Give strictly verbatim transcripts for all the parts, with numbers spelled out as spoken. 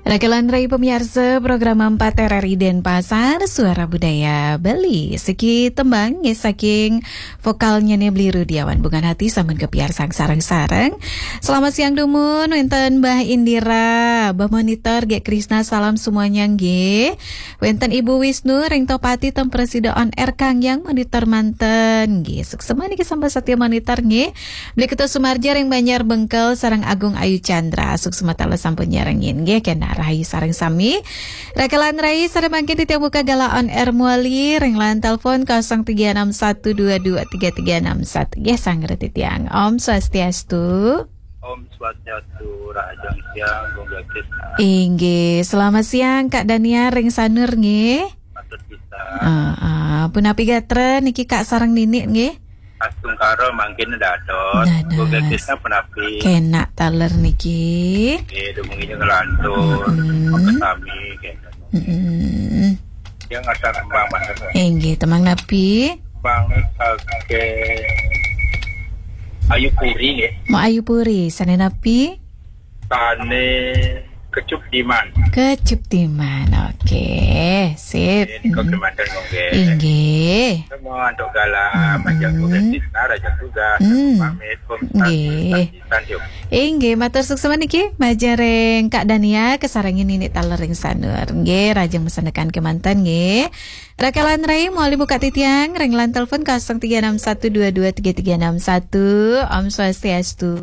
Rakelan rai pamiarsa program empat R R I Denpasar, Suara Budaya Bali. Siki tembang nggih saking vokalnya nih Bli Rudiawan, Bungan Hati, sampun kapiarsang sareng-sareng. Selamat siang dumun, wenten Mbah Indira, Mbah Monitor, Gek Krisna, salam semuanya nggih. Wenten Ibu Wisnu, ring Topati, teng Presida On Air, kang yang monitor manten nggih. Suksma niki sampun satya monitor nggih. Bli Ketut Sumarja ring Banjar Bengkel sareng Agung Ayu Chandra, suksma taler sampun nyarengin nggih, kenak rahayu sareng sami. Rakelan rai sareng mangkin titiang buka galah On Air mawali ring line telepon kosong tiga enam satu dua dua tiga tiga enam satu. Nggih, sanget titiang. Om Swastiastu. Om Swastiastu, rahajeng siang, Gung Gek Krisna. Inggih, selamat siang Kak Dania ring Sanur nggih. Matur pisan. Heeh, punapi gatra niki Kak sareng Nini nggih? Astungkara mangkin dados. Dados. Gung Gek Krisna punapi? Kenak taler niki. Nggih, dumugi ngelantur. Mm-mm. Makasami, kenten. Mm-mm. Yang ada kembang, Mas. Inggih, tembang napi? Kembang saking Ayu Puri, nggih. Mau Ayu Puri, sane napi? Sane Kecup Diman. Kecup Diman, oke. Sip. Nggih, nika kemanten, nggih. Inggih. Semua antuk galah, mm-mm, majeng Gung Gek Krisna, rahajeng tugas. Mm. Pamit, Om Swastiastu, nggih. Santi, Santi, Om. Inggih, matur suksma niki, majeng ring Kak Dania, kasarengin Nini taler ring Sanur. Nggih, rahajeng masandekan kemanten, nggih. Rakelan rai, mawali buka titiang, ring line telepon kosong tiga enam satu dua dua tiga tiga enam satu. Om Swastiastu.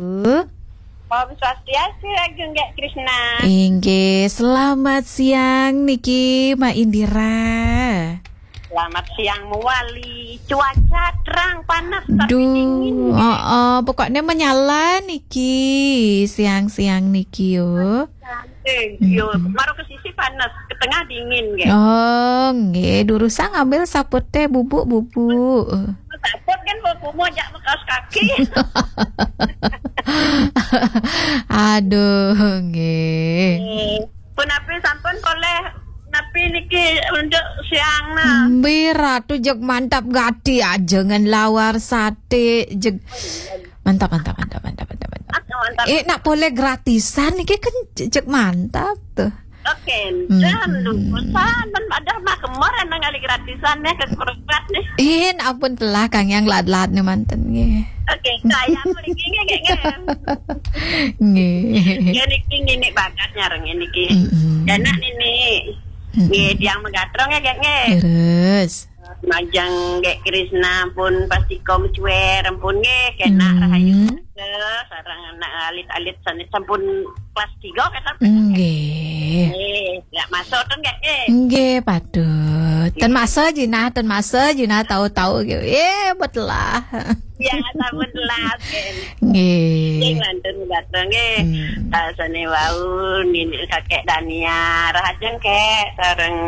Om Swastiastu, Agung Gek Krisna. Inggih, selamat siang niki, Mbak Indira. Selamat siang mawali. Cuaca terang, panas, tapi dingin. Duh, heeh, pokoknya menyala niki, siang-siang niki yo. Santai, yo, mm-mm, maro ke sisi panas, ke tengah dingin, nggih. Oh, nggih, durusang ambil saput teh bubuk-bubuk. Saput kan bawa kumo jak bekas kaki. Aduh, nggih. Eh, punapi sampun polih napi niki untuk siang nah? Mbi Ratu, jeg mantap gati aja ngen lawar sate, jeg. Mantap, mantap, mantap, mantap, mantap, mantap. Ah, mantap. Eh, nak polih gratisan niki kan jeg mantap tuh. Oke, mm-mm, dan lupa sampun pada mah kemor emang kali gratisan ya, kekurangan nih. Eh, ampun telah kang yang lat-lat nih manten nggih. Oke, saya mriki nggih, nggih, nggih. Nggih. Ya niki Nini bagas nyarengin niki. Mm-mm. Anak Nini. Mm-mm. Nggih, tiang megatrong ya, nggih, nggih. Terus. Majeng Gek Krisna pun pasti kom cuer, ampun nggih, kenak, hmm, rahayu. Sareng anak alit-alit sane sampun kelas tiga kata. Nggih. Nggih, ya masuk tuh nggih. Eh. Nggih, patut. Nggih. Ten masa jinah, ten masa jinah tahu-tahu gitu. Eh, betelah. Ya, sampun telat, nggih. Nggih. Sing lantur dateng, nggih. Hmm. Rasane wau Nini kakek Dania, rahajeng kek sareng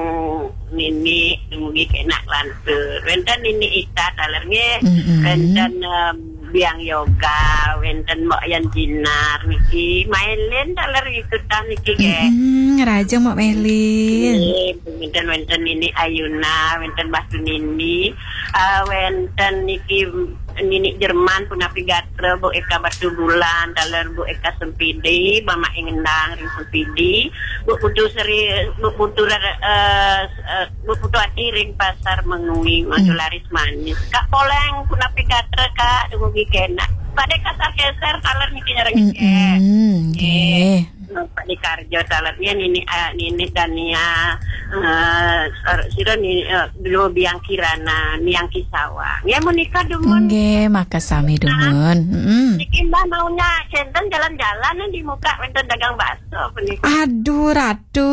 Nini dumugi kenak lantur. Wenten Nini Ita taler, nggih. Mm-mm. Wenten, em, Biang Yoga, wenten Mbok Yan Jinar niki. Mailin taler ikutan niki, nggih. Mm-mm, rahajeng Mbok Mailin. Nggih, wenten, wenten Nini Ayuna, wenten Batu Nini, eh, wenten niki Nini Jerman punapi gatra, Bu Eka Batu Bulan, taler Bu Eka Sempidi, Mama Ingendang ring Sempidi, Bu Putu Seri, Bu Putu, eh, eh, Bu Putu Ati ring Pasar Mengwi, maju, hmm, laris manis. Kak Poleng punapi gatra, Kak, dumugi kenak. Pada kasar keser, taler niki nyarengin, nggih. Mm-mm, nggih. Nggih. Pak Dikarjo taler nggih, Nini, eh, Nini Dania, eh, sir-, sira ni, eh, Blo Biang Kirana, Niang Kisawa. Nggih, menika dumun. Nggih, makasami dumun. Mm-mm. Niki Mbah maunya kenten jalan-jalan nih di muka wenten dagang bakso punika. Aduh, Ratu.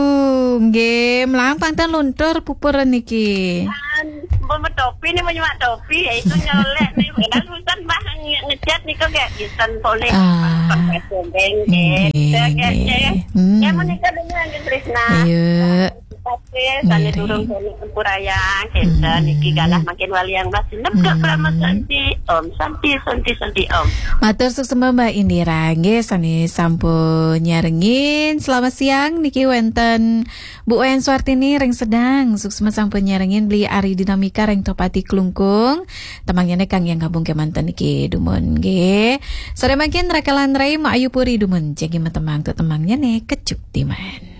Nggih, mlampang ten luntur pupur niki. Mbok topi nih, mau nyemak topi, ya itu nyolek nih. Padahal urusan Mbah nge-, ngechat nih kok gak bisa poleh. Ah. Pakai sobeng, nggih, gitu, nggih, nggih. Hmm. Ya, menika dulu, Nggih Krisna. Iya. Oke, sane, nggih, durung kono tempurayang, kenten, hmm, niki galah makin wali yang Mbah sinep, hmm, Kak Prama Santi. Om Santi, Santi, Santi, Om. Matur suksma Mbak Indira, nggih, sane sampun nyarengin. Selamat siang, niki wenten Bu Wayan Suartini ring Sedang, suksma sampun nyarengin. Bli Ari Dinamika ring Topati Klungkung. Temangnya ne kang yang gabung kemanten niki dumun nggih. Sore mangkin rakelan rai Mak Ayu Puri dumun. Jagi matembang tu temangnya ne Kecup Diman.